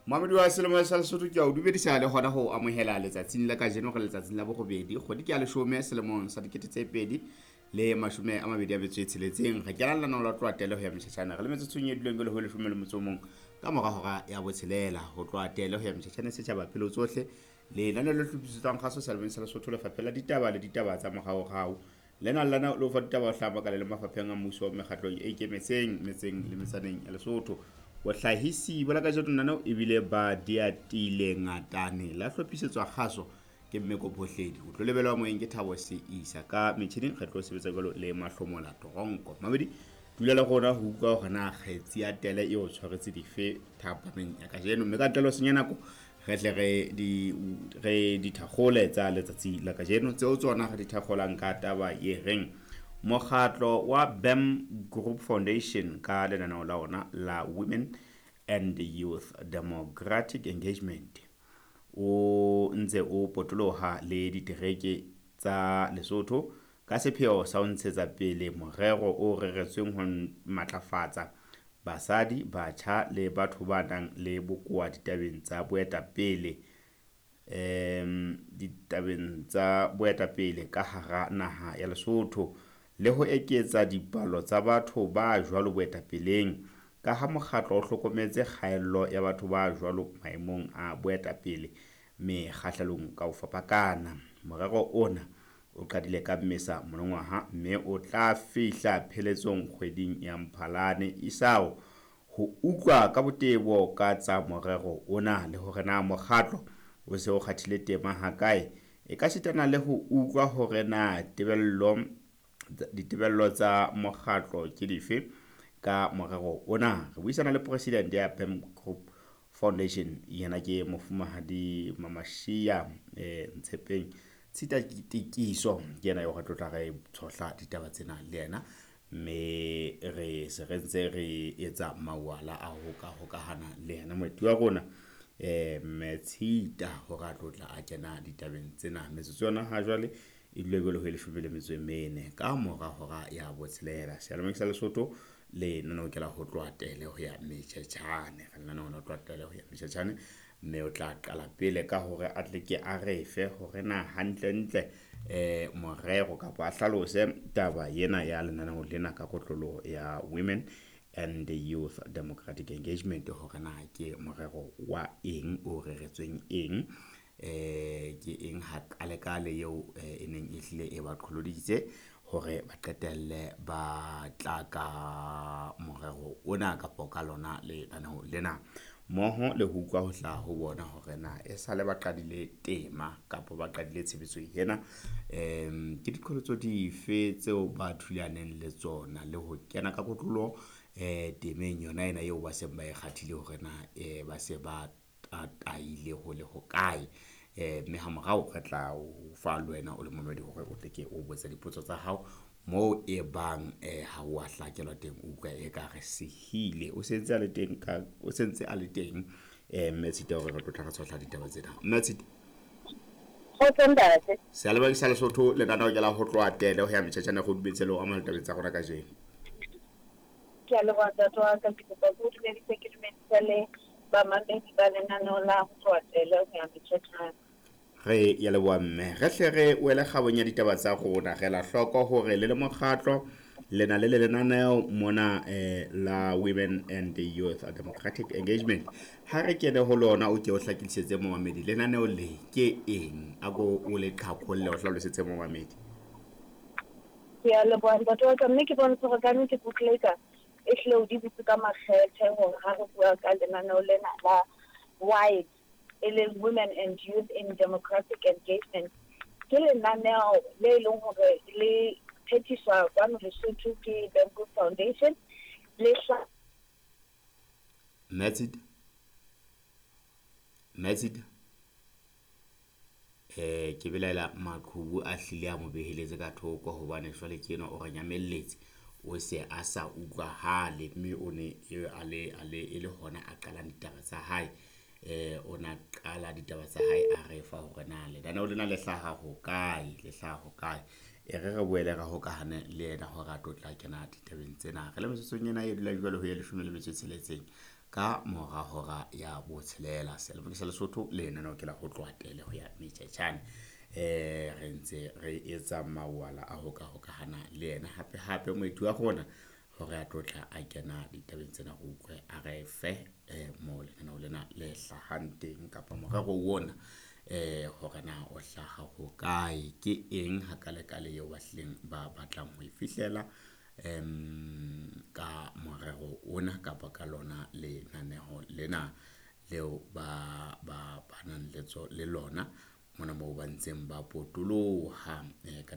Mamedi wa selemo sa Lesotho ke a o dumedisa le hona ho amohela letsatsing la kajeno re letsatsing la borobedi kgwedi ke ya leshome selemong sa 2026. Re kena lenaneo la tloha tele ho ya Mtjhatjhane re le metsotsong e duleng jwale ho 11 ka mora hora ya 6. Ho tloha tele ho ya Mtjhatjhane setjhaba pelo tsohle lenaneo le hlophisetswang kgaso selemong sa Lesotho lefapheng la ditaba le ditaba tsa moraorao. Lena lena le fa ditaba ho hlaba ka le mafapheng a mmuso mekgatlong e ikemetseng metseng le metsaneng ya Lesotho. Bohlahisi ba la kajeno nano ebile ba diatile ngatane la hlophisetswa kgaso ke Mmeko Phohledi. O tlo lebelwa moyeng ke Thabo Seisa ka metjhining re tlo sebetsa jwalo le Mahlomola Toronko. Mamedi dula le rona ho utlwa hore na kgetsi ya tele e o tshwaretse dife thapameng ya kajeno, mme ka ntle le ho senya nako re tle re dithakgole tsa letsatsi la kajeno tseo tsona re di thakgolang ka taba e reng mokgatlo wa BAM Group Foundation ka lenaneo la ona la Women and Youth Democratic Engagement o ntse o potoloha le ditereke tsa Lesotho ka sepheo sa ho ntshetsa pele morero o reretsweng ho matlafatsa basadi, batjha le batho ba nang le bokowa ditabeng tsa boetapele ka hara naha ya Lesotho le ho eketsa dipalo tsa batho ba jwalo boetapeleng, ka ha mokgatlo o hlokometse kgaello ya batho ba jwalo maemong a boetapele mekgahlelong ka ho fapakana. Morero ona o qadile ka Mmesa monongwaha mme o tla fihla pheletsong kgweding ya Mphalane isao. Ho utlwa ka botebo ka tsa morero ona le hore na mokgatlo o se o kgathile tema hakae, e ka sitana le ho utlwa hore na ditebello tsa mokgatlo ke dife ka morero ona. Re buisana le president ya BAM Group Foundation, yena ke mofumahadi Mamashia Ntshepeng Tshita Tikiso, ke yena eo re tlotla re tshohla ditaba tsena le yena, mme re se re ntse re etsa mawala a ho ka hokahana le yena moeti wa rona mme Tshita hore a tlotla a kena ditabeng tsena. Metsotso yona ha jwale e dule jwale ho 14 ka mora hora ya 6. Seyalemoyeng sa Lesotho le lenaneo ke la ho tloha tele ho ya Mtjhatjhane. Re lenaneo la ho tloha tele ho ya Mtjhatjhane, mme o tla qala pele ka hore a tle ke a re fe hore na hantlentle morero kapa a hlalose taba ena ya lenaneo lena ka kotloloho ya Women and the Youth Democratic Engagement, hore na ke morero wa eng o reretsweng eng, ke eng ha kalekale eo e neng e hlile e ba qholoditse hore ba qetelle ba tla ka morero ona kapa ka lona lenaneo lena, mmoho le ho utlwa ho hlaha ho bona hore na e sale ba qadile tema kapa ba qadile tshebetso ena, ke diqholotso dife tseo ba thulaneng le tsona le ho kena ka kotloloho temeng yona ena eo ba seng ba e kgathile hore na ba se ba tataile ho le hokae. Mme ha morao re tla o fa le wena o le momedi hore o tle ke o botse dipotso tsa hao moo e bang ha o a hlakelwa teng, o utlwa e ka re sehile o sentse a le teng ka o sentse a le teng mme Tshita hore re tlotla re tshohla ditaba tsena. Mme Tshita, seyalemoyeng sa Lesotho lenaneo ke la ho tloha tele ho ya Mtjhatjhane go dumetse le ho amohela tabeng tsa rona kajeno. Ke a leboha ntate wa ka, ke kopa ke o dumedise, ke dumedise le bamamedi ba lenaneo la ho tloha tele ho ya Mtjhatjhane. Re ya leboha mme, re hle re wele kgabong ya ditaba tsa rona. Re la hloko hore le le mokgatlo le na le lenaneo mona la Women and the Youth Democratic Engagement. Ha re kene ho lona, o ke o hlakisetse momamedi lenaneo le ke eng, a ko o le qhaqholle o hlalosetse momamedi. Ke a leboha ntate wa ka, mme ke bontshe hore ka nnete Bookmaker e hlile o di butse ka makgethe hore ha re bua ka lenaneo lena la WIDE, e leng Women and Youth in Democratic Engagement, ke lenaneo le leng hore le phethiswa kwano Lesotho ke BAM Group Foundation. Le Mme Tshita ke belaela maqhubu a hlile a mo beheletse ka thoko hobane jwale ke enwa o re nyamelletse, o se a sa utlwahale, mme o ne a le e le hona a qalang ditaba tsa hae. O na qala ditaba tsa hae a re fa hore na lenaneo lena le hlaha hokae, le hlaha hokae. E re re boele re hokahane le yena hore a tlo tla kena ditabeng tsena. Re le metsotsong ena e dulang jwale ho ya 16 ka mora hora ya botshelela. Seyalemoya sa Lesotho, lenaneo ke la ho tloha tele ho ya metjhetjhane. Re ntse re etsa mawala a ho ka hokahana le yena hape hape moeti wa rona hore a tlo tla a kena ditabeng tsena, re utlwe a re fe mo lenaneo lena le hlahang teng kapa morero ona hore na o hlaha hokae, ke eng hakalekale eo ba hlileng ba batlang ho e fihlela ka morero ona kapa ka lona lenaneho lena leo ba ba nang le lona mona moo ba ntseng ba potoloha ka.